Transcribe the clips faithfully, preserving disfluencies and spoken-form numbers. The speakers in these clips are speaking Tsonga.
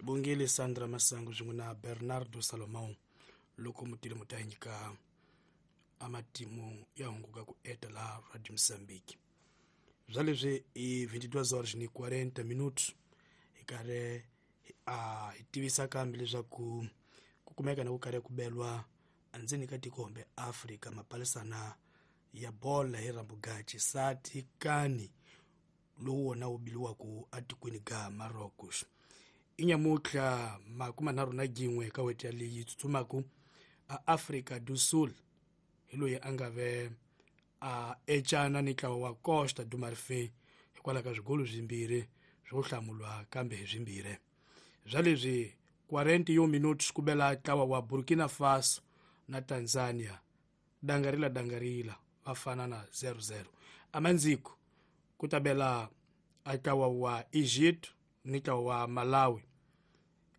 Bongile Sandra Masangu swin'we na Bernardo Salomão loko mutile mu ta nyika amatimu ya hunguka ku eta laha Radio Mozambique. Bya leswi i vinte e duas horas ni quarenta minutos hi karhi a hi tivisa kambe leswaku ku kumeka na ku karhi ku belwa endzeni ka tiko kumbe Afrika mapalisana ya bola hi rambugachi sati kani lowu wona wu biliwaku atikweni ga Marocos. Inyamutlha makumi nharhu na gin'we ka weti leyi tsutsumaku a Afrika do Sul hi loyi a nga ve a ecana ni ntlawa wa Costa do Marfim hikwalaho ka swigolo swimbirhi swo hlamulwa kambe hi swimbirhi. Bya leswi quarenta e um minutos ku bela ntlawa wa Burkina Faso na Tanzania dangarila dangarila va fana na zero zero. Amandziko ku ta bela a ntlawa wa Egypt ni ntlawa wa Malawi,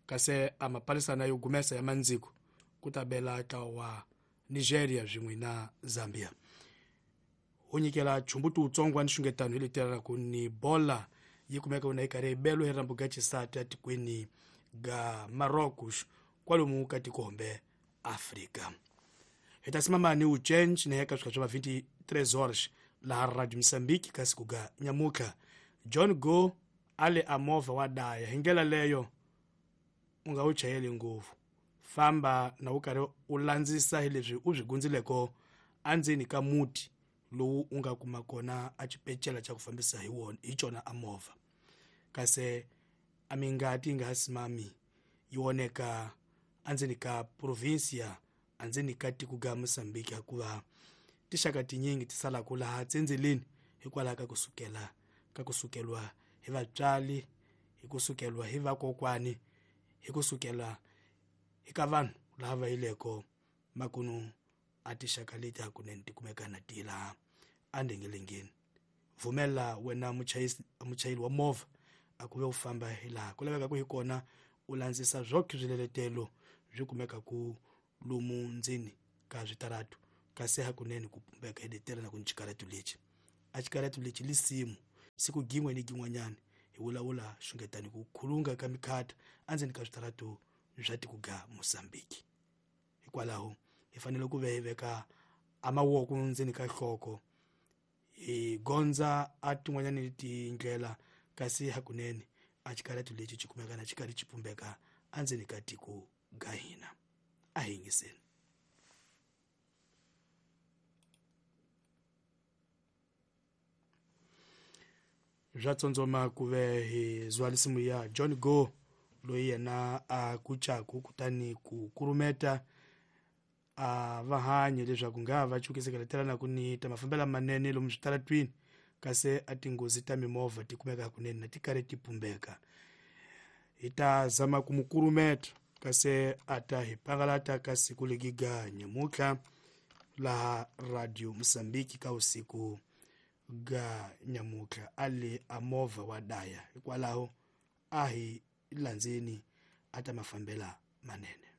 kasi a mapalisana yo gumesa ya mandziko ku ta bela ntlawa wa Nigeria swin'we na Zambia. Ho nyikela chumbuti wutsongo wa nxungetano hi leteraka ni bola yi kumeka wona yi karhi yi belo hi rambu ga xisati atikweni ga Marocos kwalomu ka tiko hombe Afrika. Hi ta simama ni uchenji na yeka swika swa vinte e três horas laha Radio Mozambique ka siku ga nyamutlha. John Go ale a movha wa daya hi ndlela leyo u nga wu chayeli ngopfu, famba na wu karhi u landzisa hi leswi u swi gundzileko endzeni ka muti lowu u nga kuma kona a xipecela xa ku fambisa hi wona hi cona a movha, kasi a mingati yi nga ha simami yi oneka endzeni ka provincia endzeni ka tiko ga Mozambique, hikuva tixaka tinyingi ti salaka laha tsendzeleni hikwalaho ka kusukela ka kusukeliwa hi vatswari, hi kusukeliwa hi vakokwani, hi kusukela eka vanhu lava va yileko makunu a tixaka leti hakunene ti kumeka na ti laha endengelengeni. Pfumela wena muchayisi muchayeri wa movha a ku ve u famba hi laha ku lavekaka hi kona, u landzisa swoke swiletelo swi kumekaku lomu ndzeni ka switaratu, kasi hakunene ku pumbeka hi letela na ku ni xikaratu lexi a xikaratu lexi lisimu siku gin'we ni gin'wanyana hi vulavula xungetani ku khulunga ka mikhata endzeni ka switaratu swa tiko ga Mozambique. Hikwalaho hi fanele ku ve hi veka a mavoko ndzeni ka nhloko hi gondza a tin'wanyani tindlela, kasi hakunene a xikaratu lexi xi kumeka na xi karhi xi pumbeka endzeni ka tiko ga hina. A hi yingiseni. Bya tsondzoma ku ve hi zwa lisimu ya John Go loyi yena a kucaku kutani ku kurumeta a va hanyi leswaku nga va chukisekeletelana ku ni ta mafambelo manene lomu switaratwini, kasi a tinghozi ta mimovha ti kumeka hakunene na ti karhi ti pumbeka. Hi ta zama ku mu kurumeta kasi a ta hi pangalata ka siku legiga nyamutlha laha Radio Mozambique ka usiku ga nyamutlha a le a movha wa daya, hikwalaho a hi landzeni a ta mafambela manene.